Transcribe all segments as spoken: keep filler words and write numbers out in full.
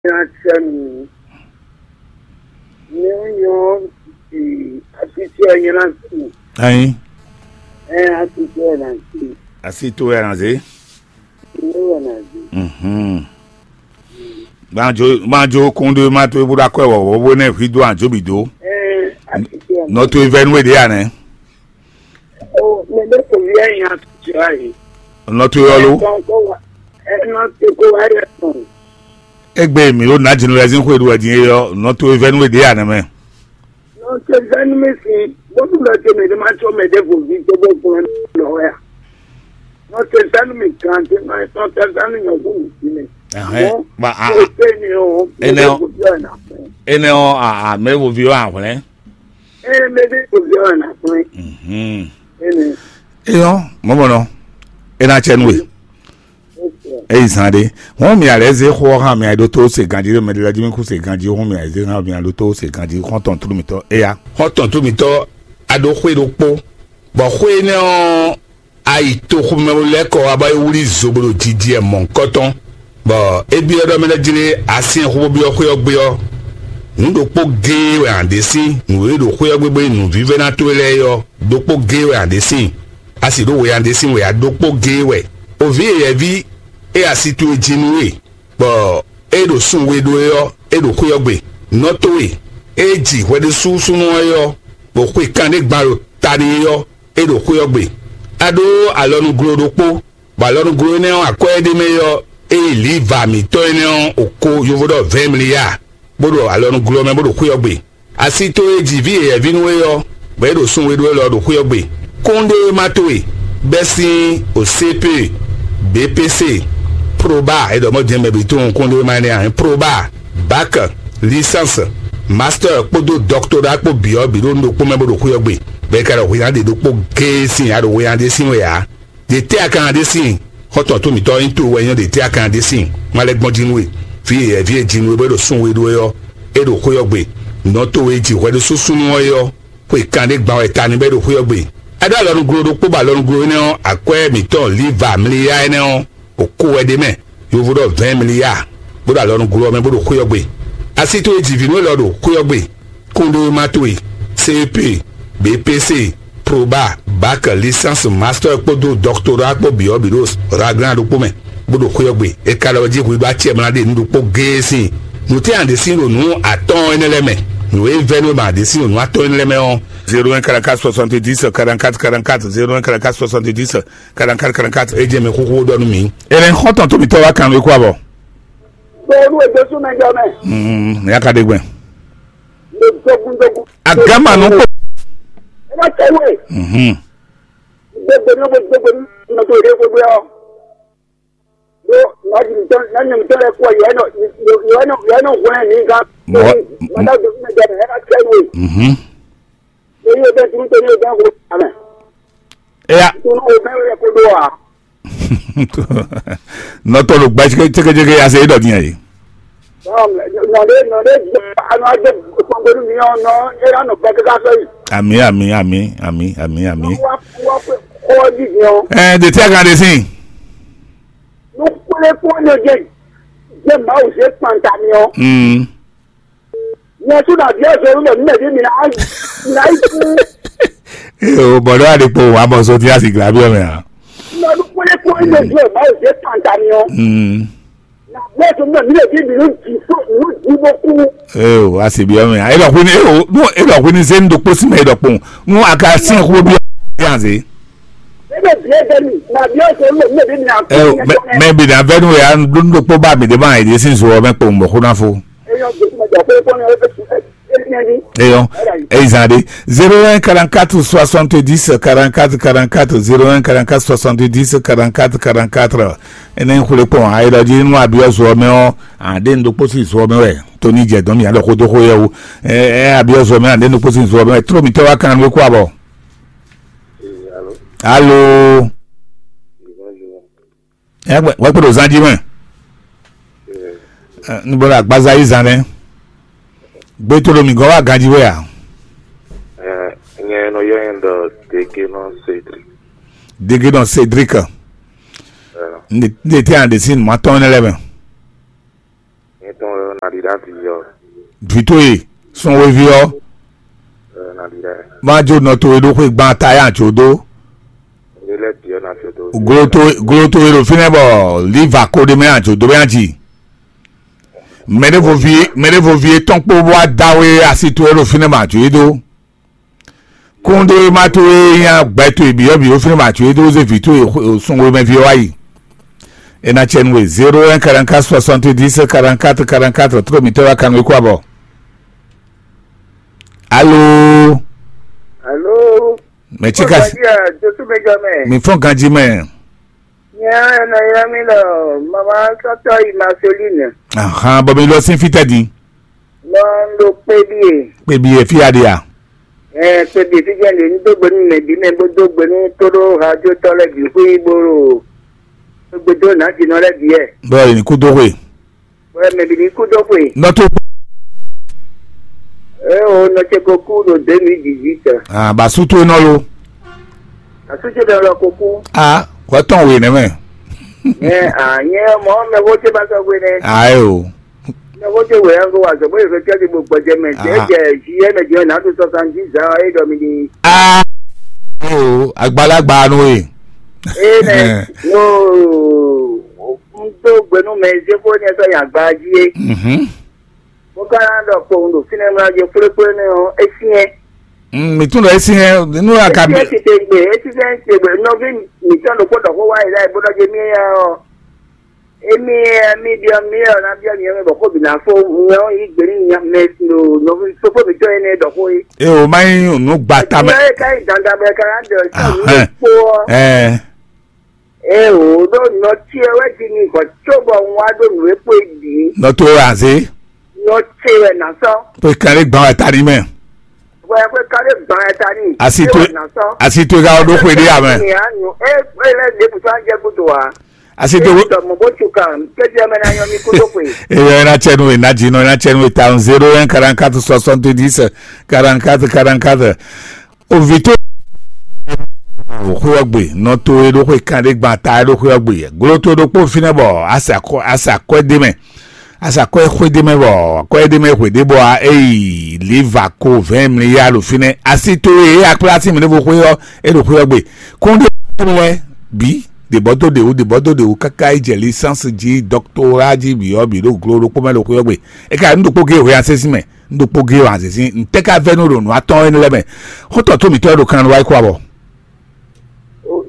Nya sɛ mi. Nyɔ̌nyɔ́ ti asitɛ nyɛ ná si. Ayin. Ɛ asitɛ ná si. Asi to wɛ na zé. Ní wɛ ná si. Mhm. Banjo banjo kún ɖé ma to ebo ɖo akwɛ wɔwɔ bó nɛ hwi dó anjo bǐ dó. Ɛ asitɛ. Nɔ to evɛnu e ɖe ya nɛ. O mɛ ɖé kò vi ɛyin atutɔ ayi. Nɔ to yɔ lo. Ɛtɔn kó wa ɛnɔ tó kó wa yɛ tɔn. Egbe mi ɖo nǎ jinu lɛzín xwe ɖu wɛ din e yɔ nɔ to evɛnu e ɖe ya nɛ mɛ. Nɔ tó evɛnu mi si bónú lɔ tó mɛ ɖé ma tó mɛ ɖé kò vi tó bó gbɔn lɔ wɛ a. Nɔ tó evɛnu mi kan tó nɔ tó evɛnu nyɔ kó mi si mɛ. Ɛhɛn, ba a. Kò tɛ ni o mɛ ɖé kò vi ɔ na fún. Enɛ ɔ a a mɛ wo vi ɔ ahwlɛn. Eye mɛ ɖé kò vi ɔ na fún. Mhm. Ene. Eyɔ mɔmɔ nɔ. Ena tsɛ nu e. Eyi zan ɖe. Wɔn mi alɛ ze xɔ hã mi aɖo to se ganji ɖe mɛ ɖe la ji mi ku se ganji wɔn mi alɛ ze hã mi aɖo to se ganji xɔntɔn tru mitɔ eya. Xɔntɔn tru mitɔ aɖo xwe ɖokpo bɔ xwe nɛ ɔ ayi toxomɛ lɛ́ kɔ wá bɔ é wlí zo bó ɖo jijɛ mɔ̌hunkɔtɔn, bɔ é byɔ́ ɖɔ mɛ lɛ́ jlé asyɛ́nxó bó byɔ́ xwé ɔ́ gbé ɔ́, nǔ ɖokpó géé wɛ a ɖě sín nǔ e ɖo xwé ɔ́ gbé gbé nyí nǔvívɛ́ná towe lɛ́ɛ é ɔ́, ɖokpó géé wɛ a ɖě sín. A sì ɖó we a ɖě sín wɛ a ɖokpó géé wɛ. O vǐ yɛ̌yɛ́ví e asi towe jí nú we, bɔ é ɖo sun we ɖó é ɔ́, é ɖo xwé ɔ́ gbe. Nɔ towe e ji hwɛɖésúsúnɔ ɔ́ é ɔ́, bɔ xwe kanɖé gban ɖo ta n'i é ɔ́, é ɖo xwé ɔ́ gbe. A ɖó alɔnuglo ɖokpó, bɔ alɔnuglo énɛ́ ɔ́, akwɛ́ e ɖ'é mɛ é ɔ́, é yi lǐva mǐtɔn énɛ́ ɔ́ oko yovo ɖɔ vɛ̌ɛn mliya, bó ɖo alɔnuglo ɔ́ mɛ bó ɖo xwé ɔ́ gbe. Asi towe e ji vǐ yɛ̌yɛ́ví nú we ɔ́, bɔ é ɖo sun we ɖó élɔ́ ɖo xwé ɔ́ gbe. Kúnɖéwéma towe, bɛ́ sín O C P, B P C, Proba, é ɖɔ mɔ̌ din mɛ bǐ tunwun kúnɖéwéma énɛ́ ǎ, Proba, Bac, Licence, Master kpódó Doctorat kpó bǐ ɔ́ bǐ ɖo nǔ ɖokpó mɛ bó ɖo xwé ɔ́ gbe, bɔ é ka ɖɔ hwǐnna ɖě ɖokpó géé sín a ɖo hwǐnna ɖé sín wɛ ǎ. Ɖě tɛ́ a ka ná ɖe síin? Xɔ́ntɔn tó mǐtɔn ɔ́ nyí towe wɛ nyɔ́ ɖě tɛ́ a ka ná ɖe síin? Má lɛ́ gbɔn jí nú we. Vǐ e yɛ̌ví e ji nú we bɔ é ɖo sún we ɖó é ɔ́, é ɖo xwé ɔ́ gbe. Nǔ ɔ́ towe e ji hwɛ ɖé súnsún nú ɔ́ é ɔ́, xwe kanɖé gban wɛ ta ní bɔ é ɖo xwé ɔ́ gbe. A ɖó alɔnuglo ɖokpó bɔ alɔnuglo énɛ́ ɔ́, akwɛ́ mǐtɔn Liva mliya énɛ́ ɔ́, o ko wɛ ɖ'é mɛ. Yovo ɖɔ vɛ̌ɛn mliya, bó ɖo alɔnuglo ɔ́ mɛ bó ɖo xwé ɔ́ gbe. Asi towe ji vǐ nú élɔ́ ɖo xwé ɔ́ gbe. Kúnɖéwéma towe, C E P, B P C, Proba, Bac, Licence, Master kpódó Doctorat kpó bǐ ɔ́ bǐ ɖo Raglan ɖokpó mɛ, bó ɖo xwé ɔ́ gbe. É ka ɖɔ jí hwi ɖó acɛ mla ɖe nǔ ɖokpó géé sín. Nǔ tɛ́ a ɖě sín ɖo nǔ atɔ́ɔ́n énɛ́ lɛ́ɛ mɛ? Nǔ e vɛ́ nú we ma ɖě sín ɖo nǔ atɔ́ɔ́n énɛ́ lɛ́ɛ mɛ ɔ́. Zéro un quarante-quatre soixante-dix quarante-quatre quarante-quatre, zéro un quarante-quatre soixante-dix quarante-quatre quarante-quatre. É jɛ mɛ xóxó ɖɔ nú mǐ. Ɛnɛ xɔ́ntɔn tó mǐtɔn wá kan nú é kó abɔ. Bɔɔlu egbé súnmɛ jɔ mɛ. Mm, ya ka ɖe gbɛn. Ndogun dogun. Agama nɔ kpɔ. Ẹ má tẹ wé. Mhm. Gbogbo ní gbogbo ní nɔtò rẹ gbogbo yọ. Ɖó nɔɖi mítɔn nɔɖi mítɔn lɛ kú ɔ yɔ ɛnɔ yɔ ɛnɔ yɔ ɛnɔ hwlɛn mí gán. Mɔ- Mɔtɔ gbé súnmɛ jɔ mɛ ẹ má tẹ wé. Mhm. Èyí ò bẹ́ẹ̀ tunu tó ní ò bẹ́ẹ̀ wò amẹ́. Eya. Tunu ò bẹ́ẹ̀ wò yẹ kó dó wa. Nɔtɔ ɖo gba cékecéke ya se ɖɔ din ayi. Nɔɖe nɔɖe anɔ adé kpɔngbɛnu mi ɔ nɔ era nɔ bɛɛ kaka sɔ yi. Ami ami ami ami ami ami. Wa wa kɔ di diɔ. Ɛ de ti a kan de sin. Nukpele kpɔn ne je je Mawu se kpanta mi ɔ. Mm. Nyɛ su na biɛ zɔn nɛ mi mɛ di mi na na yi ku. Ee o bɔdɔ adi kpo wa mɔ so ti a si gila bi ɔmɛ a. Nukpele kpɔn ne je Mawu se kpanta mi ɔ. Mm. Na biɛ zɔn nɛ mi mɛ di mi nu di so nu di bo ku. Ee o a si bi ɔmɛ a e dɔ kuni ee o nu e dɔ kuni se nu do kpo si mɛ e dɔ kpo nu a ka si xo bi ɔmɛ a se. Ebe biɛ bɛ mi na biɛ zɔn nɛ mi mɛ di mi na. Ee o mɛ mɛ bi na vɛ nu ya nu do kpo ba mi de ma e de si zo ɔmɛ kpo mɔ ko na fo. Eyɔ, eyi zan ɖe. Zéro un quarante-quatre soixante-dix quarante-quatre quarante-quatre, zéro un quarante-quatre soixante-dix quarante-quatre quarante-quatre. Ene xwle kpɔn ayidɔji nínú abiɔzu ɔmɛ ɔ, ade ndokpo si zu ɔmɛ wɛ. Tóní jɛ dɔn mi alɔ kodo xo yɛ wu. Ɛ abiɔzu ɔmɛ ade ndokpo si zu ɔmɛ wɛ. Tró mi tɛ wa kan nú kó abɔ. Alo. Ɛ wɛ kpe ɖo zan jí mɛ. Ɛ, ní bɔ ɖo agbaza yí zan nɛ. Gbɛtɔ́ ɖo mǐ gɔ́ wá ganjí wɛ a? Ɛ, nyɛ nɔ yɔ nyɛ ɖɔ Degenɔ Cédric. Degenɔ Cédric. Ɛ. N de te an de si ma tɔn ne lɛ mɛ. Nyɛ tɔn Nalila vi ɔ́. Vǐ towe, sunweví ɔ́, Ɛ, Nalila. Má jó nɔ towe ɖó xwé gbán táyà jǒ dó. Ilé lɛ́ɛ bǐ ɔ́ ná jǒ dó. Glo towe, glo towe ɖo fínɛ́ bɔ liva ko ɖé mɛ ajǒ dó mɛ aji. Mɛɖévoví, mɛɖévoví etɔn kpó wá dá wé asi towe ɖo fínɛ́ bɔ ajǒ yí dó. Kúndé má towe nyá gbɛ towe bǐ ɔ́ bǐ ɖo fínɛ́ bɔ ajǒ yí dó zé vǐ towe sunwe mɛ ví ɔ́ wá yi. E ná cɛ nú we zéro un quarante-quatre soixante-dix quarante-quatre quarante-quatre, tró mǐtɔn wá kanú é kó abɔ. Alo. Alo. Mɛ tsika. Josu Benjamin. Mi fɔn ganji mɛ. Nya ena yra mi lɔ mama sɔtɔ yi Marceline. Ahan, bɔ mi lɔ sín fítɛ din. Nɔ ndo kpe bie. Kpe bie fi aɖe a? Ɛ kpe bie fi jɛn de n do gbenu mɛ bi mɛ bo do gbenu to ɖo radio tɔ lɛ bi xwi bo ɖo gbedo na jinɔ lɛ bi yɛ. Bɔ yi ni kú dó xwe. Wɛ mɛ bǐ ní kú dó xwe. Nɔ tó. Ée o nɔ ce ko kú ɖo deux mille dix-huit. Ah, ba sú tó nɔ lo. Asújúdɔ lɔ ko kú. Ah, wɛ tɔn we nɛ mɛ. Ɛ ah nyɛ mɔ mɛ wo ce ba sɔ gbe nɛ. Ah, é o. Mɛ wo ce wɛ yango wa zɔ bó yɛ fɛ kɛdi bo gbɔjɛ mɛ jɛ Ah. jɛ zi yɛ mɛ jɛ na do soixante-dix ans é dɔ mi di. Ah, é o, agbalagba no e. Ee nɛ no n do gbenu mɛ zeko ne sɔ yan gba ji e. Mhm. Mo ka na ɖɔ kpowun ɖo fínɛ́ mla je kplékplé nɛ ɔ́, é syɛ́n. Mm, mi tún ɖɔ é syɛ́n nú aka Ésyɛ́n titewungbe, ésyɛ́n titewungbe, nɔví mǐtɔn ɖokpó ɖɔ xó wá yi lɛ́ɛ bó ɖɔ je mí éyá ɔ́, émí émí ɖiɔ mí ɔ́ ná byɔ́ nyɛ mɛ bɔ xó bǐ ná fó nyɛ ɔ́ yí gbe nú nya mɛ ɖo nɔví fófó mǐtɔn énɛ́ ɖɔ xó é. E o ma nyí nǔ gba tamɛ. Nyɛ é ka nyí dandan bɔ é ka ná ɖɔ sɔ́ nǔ Ahɛn. Ɖokpó ɔ́. Ɛ. Eo ɖó nɔ ce wɛ ji n'i vɔ cóbɔ un wá ɖó nǔ e kpo e bǐ. Nɔ towe wɛ a zě. Nɔ ce wɛ nǎ sɔ́. Xwe kan ɖé gbǎn wɛ ta ní mɛ. Xwe xwe kan ɖé gbǎn wɛ ta ní. Asi towe asi towe ka wɔ ɖó xwe ɖé amɛ. Ni a nu e e lɛ ɖe kutu an jɛ kutu wa. Asi towe. Tɔ mɔ bó tu kan kejì ɛmɛ na nyɔ mi kutu xwe. Eyɔ ena cɛ nu ena dzi nɔ ena cɛ nu eta zéro un quarante-quatre soixante-dix quarante-quatre quarante-quatre. Ovǐ towe xwé ɔ́ gbe, nɔ towe ɖó xwé kanɖé gban ta wɛ ɖó xwé ɔ́ gbe. Glo towe ɖokpó fínɛ́ bɔ a sa kɔ a sa kɔ́ ɖ'é mɛ. A sa kɔ́ xwé ɖ'é mɛ bɔ kɔ́ ɖ'é mɛ xwě ɖé bɔ a é yi liva ko vɛ̌ɛn mliya ɖo fínɛ́. Asi towe e a kplá sín mǐɖévo xwé ɔ́ é ɖo xwé ɔ́ gbe. Kúnɖé lɛ́ɛ bǐ ɖě bɔ dó ɖě wú ɖě bɔ dó ɖě wú káká yi jɛ lisánsì jí dɔktóra jí bǐ ɔ́ bǐ ɖo glo ɖokpó mɛ ɖo xwé ɔ́ gbe. É ka nyí nǔ ɖokpó géé hwe a sésí mɛ. Nɖokpó gé wǎn zǐzí ntɛ́ ka vɛ́ nú ɖo nǔ atɔ́ɔ́n énɛ́ lɛ́ɛ mɛ? Xótɔ tó mǐtɔn e ɖo kan wá yi kó abɔ.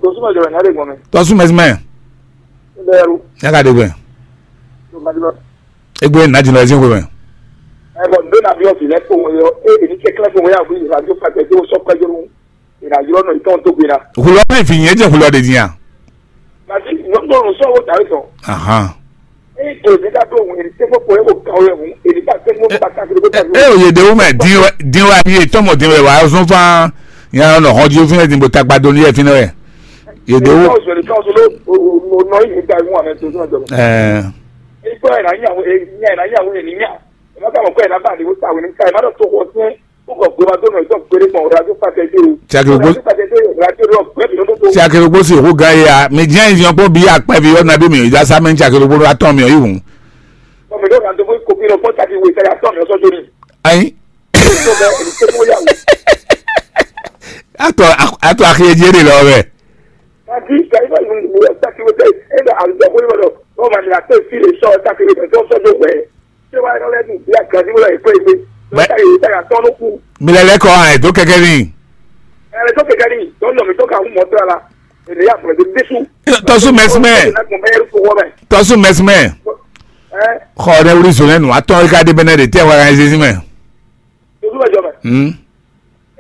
Dosúmọ̀ jọ̀wọ́ ní adégbọ̀n mi. Tɔ́sú mɛsí mɛ. Ndé ẹrú. Yá ka ɖe gbɛ. Tó ma dúró. Égbé nàájì lọ ẹsìn xwe mɛ. Ẹ bọ̀ ndó nàbí ọ̀sìn lẹ́kọ̀ọ́ wọn yọ. Ẹ èmi kẹ́kẹ́ fún wọn yà wí ìrìnàjò pàtẹ tó sọ pẹ́jọ́ lóhùn. Ìrìnàjò ọ̀nà ìtọ́ tó gbéra. Hulɔ mɛ fi nyɛ jɛ hulɔ de diya. Màtí nyɔ̌gbọ́n sọ̀rọ̀ tàbí sọ. Ahan. Ẹ kò ní ká tó òun èdè tẹ́fọ́ kò yẹ kó kà ó yẹ òun èdè ká tẹ́fọ́ bá ká kiri kó tà. E o yede wo mɛ din wɛ din wɛ ayi etɔn mɔ din wɛ wa zɔn fan. Nya nɔ hɔn ji fi ne din bo tagba do ni yɛ fi ne wɛ. Yede wo. Ẹ sọ̀rọ̀ sọ̀rọ̀ sọ̀rọ̀ o nọ yìí nígbà ìwọ̀n àmì tó sọ̀rọ̀ jọ̀rọ̀. Ẹ. Ẹ gbọ́ ẹ̀ náà yàwó ẹ̀ náà yàwó ẹ̀ níyà. Ẹ má kà mọ̀ kọ́ ẹ̀ náà bá àdéhùn táwọn ní ká ẹ̀ má dọ̀ tó wọ sí. Kókò gbéra tó nà ìtọ́ gbére gbọ̀n ọ̀rọ̀ adó pàtẹ dé o. Tí a kì í gbó- Adó pàtẹ dé o, adó rọ gbé mi lódó tó. Tí a kì í gbó sí ìkú gan yìí a, mi jẹ́ ìyàn pé bí apá ibi ọ̀nà bí mi ìdá sámẹ́ ń tí a kì í gbó atọ́ mi ọ̀ yìí hùn. Ọmọ ìlú ọ̀nà tó fún kòkí lọ fún tàbí ìwé ìtàlẹ̀ atọ́ mi ọ̀sọ́ jóni. Ayin. Tó bẹ èmi tó fún yàwó. Atọ́ atọ́ àkíyèjì èrè lọ rẹ̀. Àti ìgbà yìí bá ìlú ìlú ẹ̀ tàkì wọ́n tẹ̀ ẹ̀ bá àlùjọ fún yìí lọ. Wọ́n máa ní àtẹ̀ sí ìṣọ́ tàkì wọ́n tẹ̀ tó sọ́jọ́ pẹ̀. Ṣé wàá rán lẹ́nu bí àgbàdì wọ́n lọ èkó ègbé? Bẹ́ẹ̀. Lọ́tà yìí tẹ̀yà tọ́nú kú. Mi lɛ lɛ kɔ ɛ tó kɛkɛ ni. Ẹ lè tó kẹ̀kẹ́ ni, tó ń lọ mi tó ka hún mọ́tò la. Èdè yà fọ̀rọ̀ tó dé sùn. Tɔsu mɛsimɛ. Ẹ kò mẹ́rin fún wọ́n mẹ́. Tɔsu mɛsimɛ. Ẹ Xɔ ɖe wuli zɔn nɛnu atɔ yi ka ɖe bɛnɛ ɖe tɛ wa ka zezi mɛ. Tó súnmọ́ jọ mẹ́. Hmm.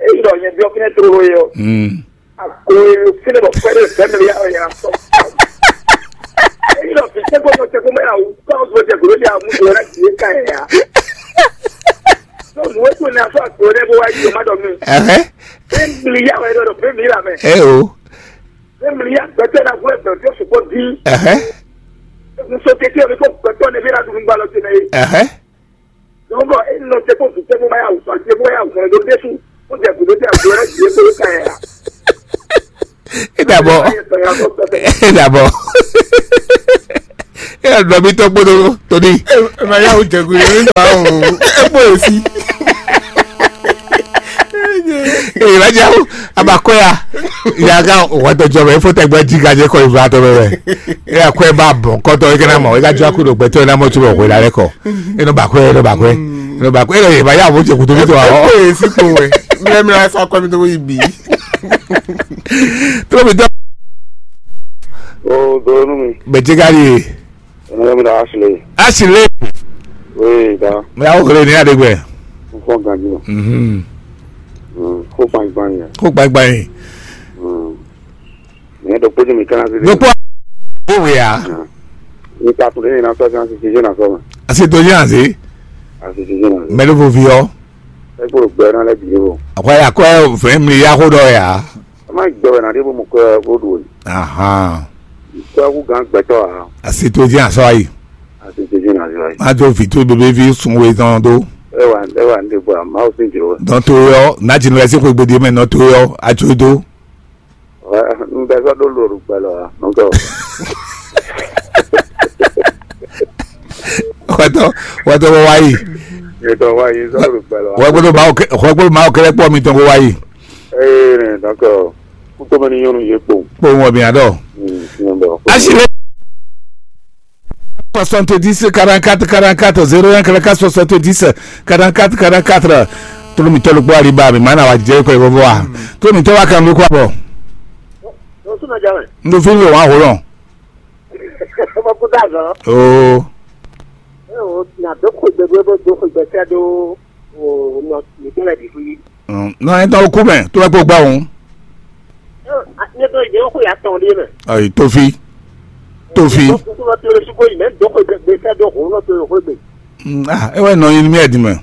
Èyí lọ yẹn bí ọkùnrin tó lóye o. Hmm. Àgbo èrò sílẹ̀ bọ̀ pẹ́ẹ́rẹ́ fẹ́ mi yá ọ̀yà sọ. Èyí lọ fi tẹ́gbọ́n tó tẹ́gbọ́n mẹ́ra o, kọ́ ọ̀sùn tẹ́gbọ́n lórí àwọn ọmọ rẹ̀ kì í ká ẹ̀ yá. Lọ́sùn wọ́n tún ní aṣọ àgbo rẹ̀ bó wá yí ọmọ dọ̀ mi. Ẹhẹ́. Bẹ́ẹ̀ mi yá wẹ̀ lọ́dọ̀ bẹ́ẹ̀ mi rà mẹ́. Ẹ o. Bẹ́ẹ̀ mi yá gbẹ́tẹ́ náà fún ẹ̀gbẹ́ tó sùpọ̀ dín. Ẹhẹ́. Nsọ kékeré mi kò gbẹ́tọ́ ní bí rà dùn gbà lọ sí náà yé. Ẹhẹ́. Lọ́bọ̀ e nɔ tẹ kó fi tẹ kó báyà wùsọ tẹ kó báyà wùsọ ló dé sùn. Ó jẹ kó ló jẹ kó ló jẹ kó ló ka yà. Ẹ dàbọ̀. Ẹ dàbọ̀. É ɖɔ mì tɔn kpódó Tony. Ema ya wo jɛgu yɛ ní ba o. Ebo esi. Ee, va dza o, abakɔ ya. Ya ka wɛtɔ jɔ mɛ, fo tɛgbɛ ji ka jɛ kɔ iva tɔ mɛ. E akɔ e ba bɔ kɔtɔ e kana mɔ, e ka jɔ aku ɖo gbɛtɔ e na mɔ tu bɔ hwe la lɛ kɔ. E nɔ bakɔ, e nɔ bakɔ, e nɔ bakɔ, e nɔ ye ba ya wo jɛ kutu mi tɔ awɔ. Ebo esi ko wɛ. Mɛ mi la sɔ akɔ mi to yi bi. Tro mi tɔ. O donu mi. Bɛ jɛ ka di. Ɛnɛ mi da Ashley. Ashley. Oui, da. Mɛ awo xlé ní aɖegbɛ. N fɔ ganji ma. Mhm. Mm, ko kpankpan yɛ. Ko kpankpan yi. Mm. Mɛ dɔ kpɔdzi mi kana sisi. Dokpɔ. Wo wea. Ni ka tun de na sɔ kan sisi je na sɔ ma. Asi to je asi. Asi sisi na. Mɛ do fo fi ɔ. E kpo gbɛ na lɛ bi wo. Akɔ ya kɔ fɛn mi ya ko dɔ ya. Ɛ má gbɛ wɛ na ɖe bó mu kɔ bó ɖu o. Ahan. Kɔ kú gán gbɛtɔ a. Asi to je asɔ ayi. Asi to je na asɔ ayi. Má tó fi tó bébé fi sun we tán tó. Ɛ wà ɛ wà ní bɔ a má o sin jò. Dɔn tó yɔ, ná jinu lɛ sí xwe gbede mɛ nɔ tó yɔ, a tó dó. N bɛ sɔ ɖó lóru gbɛlɔ a nɔkɛ o. Xɔtɔ, xɔtɔ bɔ wá yi. Ètò wa yìí sọ lóru gbɛlɔ a. Xɔ gbọ́dọ̀ máa kẹ́, xɔ gbọ́dọ̀ máa kẹ́lẹ́ pọ̀ mi tán kó wá yi. Ee nɛ nɔkɛ o. Kútó mɛ ní nyɔnu yé kpó. Kpó wọn mi àdɔ. Asi lé. Soixante-dix quarante-quatre quarante-quatre, zéro un quarante-quatre soixante-dix quarante-quatre quarante-quatre. Tolómitɔ́ ló gbọ́ àríbá mi, màá nà wá jẹ́ ikọ̀ ìfọ́fọ́ wa. Tolómitɔ́ wa kan ló kọ́ àbọ̀. Lọ sún ọjà rẹ̀. N ló fi ń lò wá hó lọ. Ọmọ kó dà gan. Oo. Ẹ o, nà dó kó ìgbẹ́ gbé bó dó kó ìgbẹ́ sẹ́ dó o nọ nìkún rẹ̀ dì fún yí. Nɔ ẹ tán ó kú mɛ tó bá kó gbá òun. Ẹ o, ní tó ìdí ó kó yà tán dé mẹ. Ayi, Tofi. Tofi. Ó kú tó lọ tó lọ sí kó yìí mẹ dó kó ìgbẹ́ sẹ́ dó òun lọ tó lọ kó ìgbẹ́. Mm, ah, ẹ wẹ́ nɔ yín ní mí ẹ̀ dì mẹ́.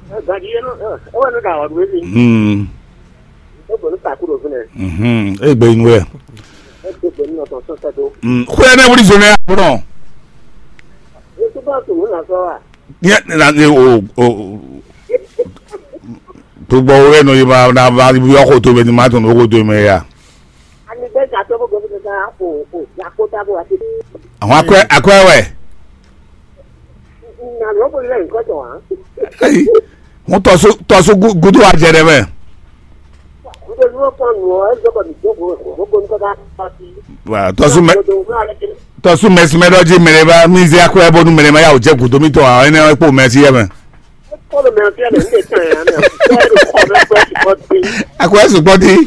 Ẹ gbàdí yẹn náà, ẹ wẹ́ ní ká wà dúró sí. Mm. Ó gbọ́dọ̀ takú lọ fún ẹ. Mhm, e gbe inu wɛ. Ẹ tó gbẹ̀mí ọ̀tọ̀ sọ́sẹ́ tó. Mm, xwé ẹ nẹ wuli zone ya kpɔnɔ. Ẹ tó bá tó wọ́n náà sọ wa. Yẹ na ni o o. Tó gbɔ wɛ nɔ yi ma na ba yɔ ko to mɛ ni ma tɔn ko to mɛ ya. Ani bɛ ka tɔ ko gɔbi ka o o ya ko ta ko wa ti. Àwọn akɔɛ akɔɛ wɛ. Na lɔ ko lɛ nkɔ tɔ wa. Ayi, wọn tɔsu tɔsu gudu wa jɛ dɛ mɛ. Ko ni ko nɔ ɛ zɔ ko ni ko ko ko ko ni ko ka ta ti. Wa tɔsu mɛ. Tɔsu mɛsimɛ dɔ dzi mɛ ɖe va mí zé akɔɛ bónú mɛ ɖe ma yá wò jɛ gǔdo mítɔn ǎ, énɛ́ ɔ́ é kpo mɛsí yɛ mɛ. Kpɔɖo mɛ ɔ́ fíɛ́ mɛ ní ɖe tán ɛ mɛ ɔ́, kpɔɖo kɔ mɛ kpɔɖo sukpɔ dín. Akɔɛ sukpɔ dín.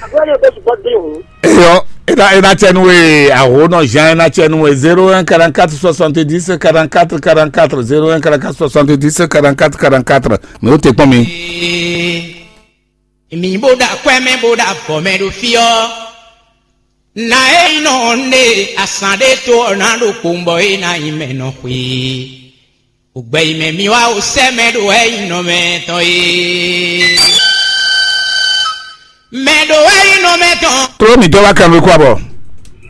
Akɔɛ ɖe kpɔɖo sukpɔ dín hǔn. Eyɔ, é ná é ná tsɛ nú we, aho nɔ zhán é ná tsɛ nú we. Zéro un quarante-quatre soixante-dix quarante-quatre quarante-quatre, zéro un quarante-quatre soixante-dix quarante-quatre quarante-quatre. Mɛ ó te kpɔn mi. Mi bó ɖo akwɛ́ mɛ bó ɖo avɔ mɛ ɖo fí ɔ́, na e nɔ ne asán ɖé tó ɔ́ ná ɖo kpowun bɔ é ná nyí mɛ nɔ xwe. Ògbɛ yi mɛ mi wá o sɛ́ mɛ ɖo wɛ yi nɔ mɛ tɔn e. Mɛ ɖo wɛ yi nɔ mɛ tɔn. Tló mǐtɔn wá kan nukú abɔ.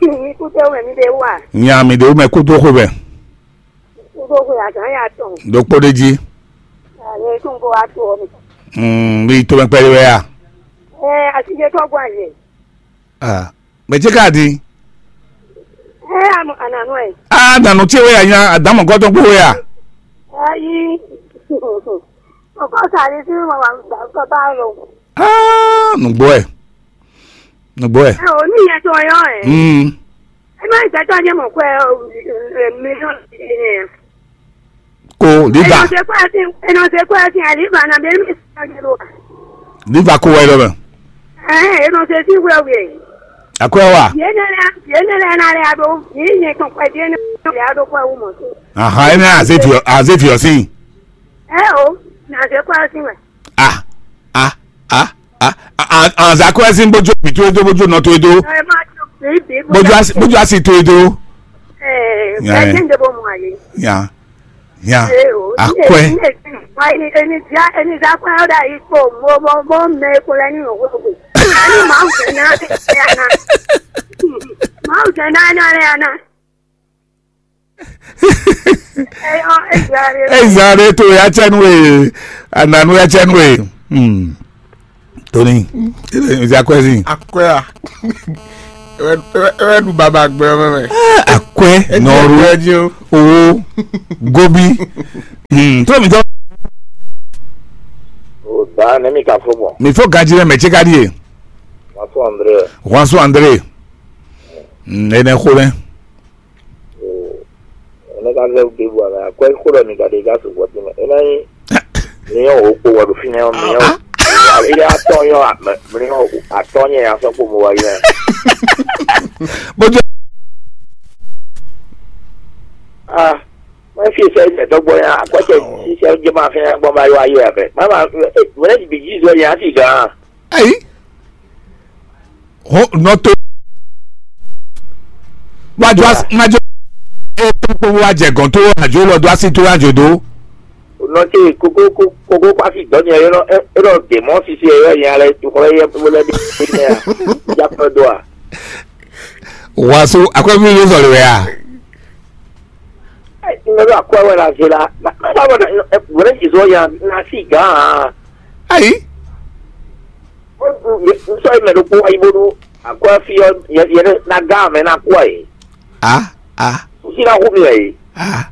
Mi kú tɛ wɛ mi ɖe wá. Nya mi ɖe wú mɛ kú dó xwe mɛ. Kú dó xwe azǎn ya tɔn. Ɖokpó ɖé jí. Ayé tó ń bọ̀ wá tó ọ mi. Mm, bí tó mɛ pɛ́lú wɛ ya. Ɛ asijɛ tɔ gbɔ ayɛ. Ah, mɛ ce ka di. Ɛ anu ananu ɛ. Ah, nanu ce wɛ ya nya adamɔ gɔtɔ kpo wɛ ya. Ayi. Ọkọ sáré sí wọn wà gbà kọ bá lọ. Ah, nùgbọ́ ẹ̀. Nùgbọ́ ẹ̀. Ẹ ò ní ìyẹn tó yọ ẹ. Mm. Ẹ má ìgbà tó ọjọ́ mọ̀ pé mílíọ̀nù ẹ̀. Kó liva. Ẹ nọ ṣe pé ẹ ti ẹ nọ ṣe pé ẹ ti àlìbà náà bẹ́ẹ̀ mi sọ ọ́ jẹ́ lọ. Liva kó wáyé lọ́bẹ̀. Ẹ ẹ nọ ṣe sí wíwẹ̀ wíwẹ̀. Àkúrẹ́ wà. Yéé nílẹ̀ yéé nílẹ̀ náà rẹ̀ adó yìí yẹn tún pẹ̀ díẹ̀ náà rẹ̀ adó pẹ̀ wù mọ̀ sí. Àhán ẹ ní àzéfìọ́ àzéfìọ́ sí. Ẹ o, nà ṣe pé ẹ ti wẹ̀. Ah, ah, ah, ah, ah, ah, àzàkúrẹ́ sí bójú òbí tó dó bójú ọ̀nà tó dó. Ẹ má tó bí bí Bójú àsì bójú àsì tó dó. Ẹ Yeah, ẹ yeah. Jẹ́ ń débò mọ́ àyè. Ya, ya, Ẹ o, ní akɔɛ. Èmi èmi wá ẹni ẹni já ẹni já pé ó dà yìí kó mo mo mo mẹ epo lẹ ní òwe òwe. Ẹni màá ń jẹ náà ẹ àná. Màá ń jẹ náà náà ẹ àná. Ẹ yọ ẹ jẹ àárẹ̀. Ezare to ya tsɛ nu e, ananu ya tsɛ nu e. Hmm. Tony, ebe nzi akɔɛ si. Akɔɛ a. Ewɛ ɖu baba gbɛ ɔ́ mɛ. Akwɛ nɔru, owó, gobi. Hmm, tó mi tɔ. O da ne mi ka fo bɔ. Mi fo ganji lɛ mɛ tse ka ɖie. Wasu André. Wasu André. Hmm, ene xo lɛ. Ene ka zɛ ɖe bu ala akwɛ xo lɛ mi ka ɖe ka su bɔ tɛmɛ. Ena yi. Mìnyɔn wǒ kpo wɛ ɖo fínɛ́ ɔ́, mìnyɔn ilé atɔ́ nyɔ́ mìnyɔn atɔ́ nyɛ ya sɔ́ kpo mo wá yi lɛ. Bójú. Ah, mɛ fi sɛ ilẹ̀ dɔgbɔ ya akɔtɛ sisɛ jẹ ma fẹ́ gbɔn ba yọ ayé abẹ mama wẹlẹ bi jí zɔ yẹn asi gan. Ayi. Ho nɔ to. Wájú as májú. E tó kpó wá jẹ gàn tó àjò lọ dó así tó àjò dó. Nɔ tse kókó kókó kó asi dɔ nyɛ yɔ e lɔ dè mɔ sisi yɔ nyɛ alɛ tukɔ yɛ wẹlẹ bi ne ya. Jakɔ do a. Wàásù akɔbí ló sọ̀rọ̀ wẹ̀ à. Ŋgɔdɔ akwɛ wɛ la zela. Wɛrɛ jizɔ ya na si gan. Ayi. Nsɔ yi mɛ ɖokpó ayi bónú akwɛ fi ɔ yɛ na gan mɛ na kú ayi. A a. Sisi na hu mi ayi. A.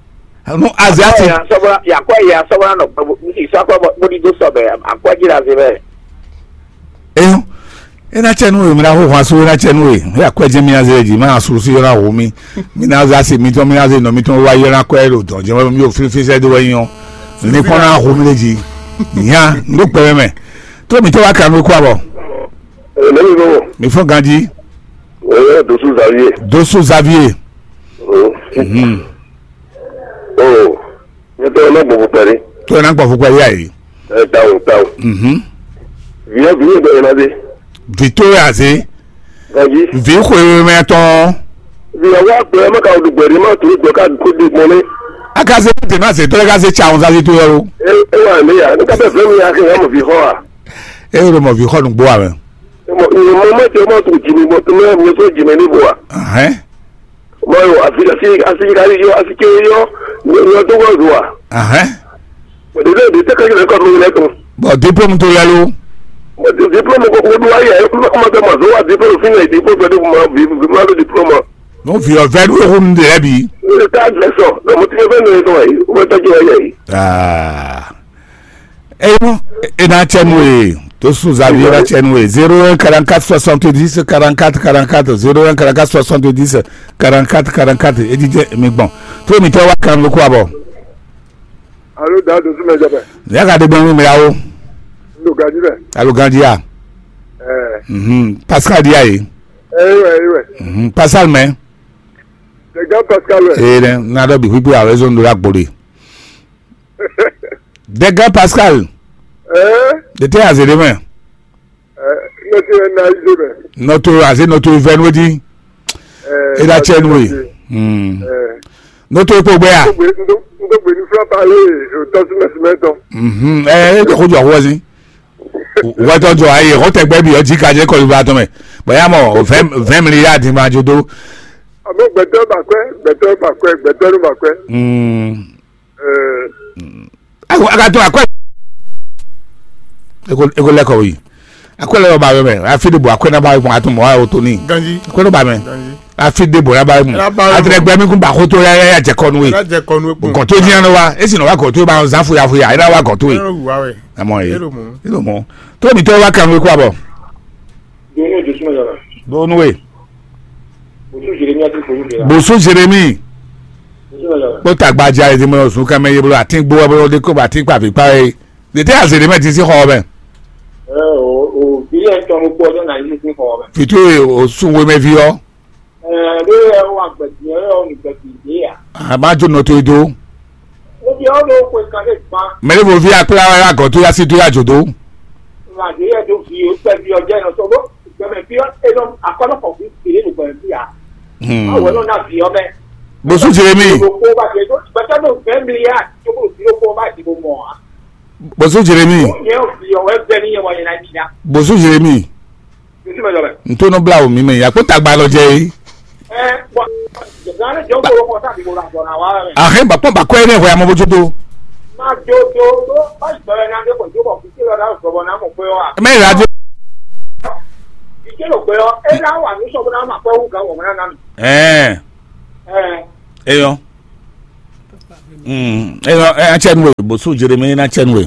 Nu azi ati. Akwɛ ya sɔbɔla ya akwɛ ya sɔbɔla nɔ kpɛ bo si sɔ akwɛ bo di do sɔbɛ akwɛ ji la ze mɛ. Eyo. Ena tsɛ nú we, mla xó hwan sú ena tsɛ nú we. Ya kwɛ jɛ mi na ze ji ma su si na hu mi. Mi na za si mi tɔn mi na ze nɔ mi tɔn wa yɔ na kwɛ ɖo dɔn jɛ mi o fi fi sɛ do wɛ nyɔ. Ni kpɔn na hu mi le ji. Nya ndo kpɛ mɛ. To mi tɔ wa kan mi kó abɔ. Lẹ́yìn náà, Mi fɔ ganji. Ẹ̀yẹ́ Dosu Xavier. Dosu Xavier. Mhm. Oh, nyɛ tɔgɔ ma gbɔ fukpɛ ɖé. To na gbɔ fukpɛ ya yi. Ɛ tawo tawo. Mhm. Viɛ viɛ bɛ ɛna de. Victoria se. Gaji. Vi xwe mɛ tɔn. Viɛ wa gbɛ ma ka du gbɛ de ma tu gbɛ ka ko de gbɔn ne. Aka se de ma se to ka se cha on sa se to yɛ o. E e wa ne ya ne ka bɛ fɛn mi ya ke ya mo vi xɔ a. E ro mo vi xɔ nu gbo a mɛ. Mo mo ma te ma tu jimi mo tu me mi so jimi ni bo a. Ahɛn. Mɔyo, asi asi asi ka yɔ asi ke yɔ yɔ dó wá zò wa. Ahɛn. Bɔn ɖe ɖe tɛ kɛkɛ lɛ kɔ mi lɛ tɔn. Bɔn diplôme tó lɛ ló. Bɔn diplôme ko ko do ayɛ ko ma tɛ ma zò wa diplôme fi na diplôme fɛ de ma vi vi ma do diplôme. N'o fi ɔ vɛ ɖo ehun de lɛ bi. Ne ta lɛ sɔ, ne mo ti fɛ ne tɔn yi, o bɛ tɔjú ayɛ yi. Aa. Eno, ena tsɛ nu e, to su zavi ena tsɛ nu e, zéro un quarante-quatre soixante-dix quarante-quatre quarante-quatre, zéro un quarante-quatre soixante-dix quarante-quatre quarante-quatre, e jijɛ mi gbɔn. To mi tɛ wa kan lo ko abɔ. Alo da do sumɛ jɛ bɛ. Ya ka de gbɔn mi mɛ yawo. Lo gaji bɛ. Alo gaji ya. Ɛɛ. Mhm. Pascal di ya ye. Ɛɛ wɛ ɛɛ wɛ. Mhm. Pascal mɛ. Dɛgɛ Pascal wɛ. Ee dɛ, na dɔ bi kpikpi awɛ zɔn do la gbɔ de. Dɛgɛ Pascal. Ɛɛ. De tɛ aze de mɛ. Ɛɛ, nɔtɔ yɛ na yi de mɛ. Nɔtɔ aze nɔtɔ vɛ nu di. Ɛɛ, e da tsɛ nu ye. Hmm. Ɛɛ. Nɔtɔ ekpo gbɛ ya. Ndo gbe ni fla pale o tɔ sumɛ sumɛ tɔn. Mhm. Ɛɛ, e jɔ ko jɔ ko si. Wɛtɔ jɔ ayi, ko tɛ gbɛ bi ɔ ji ka jɛ kɔli ba tɔn mɛ. Bɔn ya mɔ, vingt vingt milliards di ma jo do. Àmọ́ gbẹ̀tọ́ bà kwẹ́, gbẹ̀tọ́ bà kwẹ́, gbẹ̀tọ́ ló bà kwẹ́. Hmm. Ɛɛ. Ayiwa, a ka to akwɛ. Eko eko lɛ kɔ yi. Akwɛ lɛ yɔ ba yɔ mɛ. Afi de bo akwɛ na ba yɔ kpɔn ato mɔ ayo to ni. Ganji. Akwɛ lɛ ba mɛ. Ganji. Afi de bo na ba yɔ mu. Na ba yɔ mu. Atrɛ gbɛ mi kun ba ko to ya ya ya jɛ kɔnu ye. Na jɛ kɔnu ye kpɔn. Gɔn to diyan nɔ wa. Esi nɔ wa gɔn to ba zan fuya fuya. Ena wa gɔn to ye. Ena wa wɛ. Amɔ ye. Elo mɔ. Elo mɔ. To mi to wa kan we ko abɔ. Donu e Josuma yàrá. Donu e. Bosu Jeremi àti Bosu Jeremi. Bosu Jeremi. Josuma yàrá. Kpó tagba ja èdè mọ́ ọ̀sùn ká mẹ́yẹ bolo àti gbó ọbẹ̀ ọdẹ kó bá ti pa fipá yẹ. Dètè àzèrè mẹ́ ti sí xɔ ọbẹ̀. Ẹ o o bí ẹ tọ́ mo kú ọjọ́ náà yìí sí xɔ ọbẹ̀. Fìtú òsùn wo mẹ́ fi ọ́. Ẹ bí ẹ wà gbẹ̀dì ẹ ọ̀ ní gbẹ̀dì ìdí yà. Àbájọ nọ tó idó. Ebi ɔ́ ɖo xwe kan ɖé gbán. Mɛ ɖé vo vi akpla wɛ agɔ tó yá sí tó yá jò dó. Ŋà dé yɛ ɖo vi o kpɛ vi ɔ jɛ nɔ sɔgbɔ gbɛmɛ fi ɔ enɔ akɔnɔ kɔ fi fi ɖé ɖo gbɛmɛ fi a. Hmm. Awo ɛnɔ na vi ɔ mɛ. Bosu Jeremi. Ɖo kó ba jɛ ɖo gbɛtɔ ɖo gbɛ mi ya tó kó fi ɖo kó ba di bo mɔ a. Bosu Jeremi. Ó nyɛ vi ɔ wɛ bɛ ni yɛ wɔ yɛ na yi ya. Bosu Jeremi. Ntó nɔ bla wò mí mɛ ya kpó tagba lɔ jɛ yìí. Ahɛn bakpɔn bakɔ yɛ ní ɛhwɛ amɔ bó jó tó. Mɛ ìlà dé. Ìṣe ló gbé ọ́, é ná wà ní sọ́gbó náà máa kọ́ wú gán wọ̀ mọ́ náà nù. Ɛɛ, Ɛ, eyɔ. Mm, eyɔ, ɛ, atsɛ nu we, bosu Jeremi na atsɛ nu we.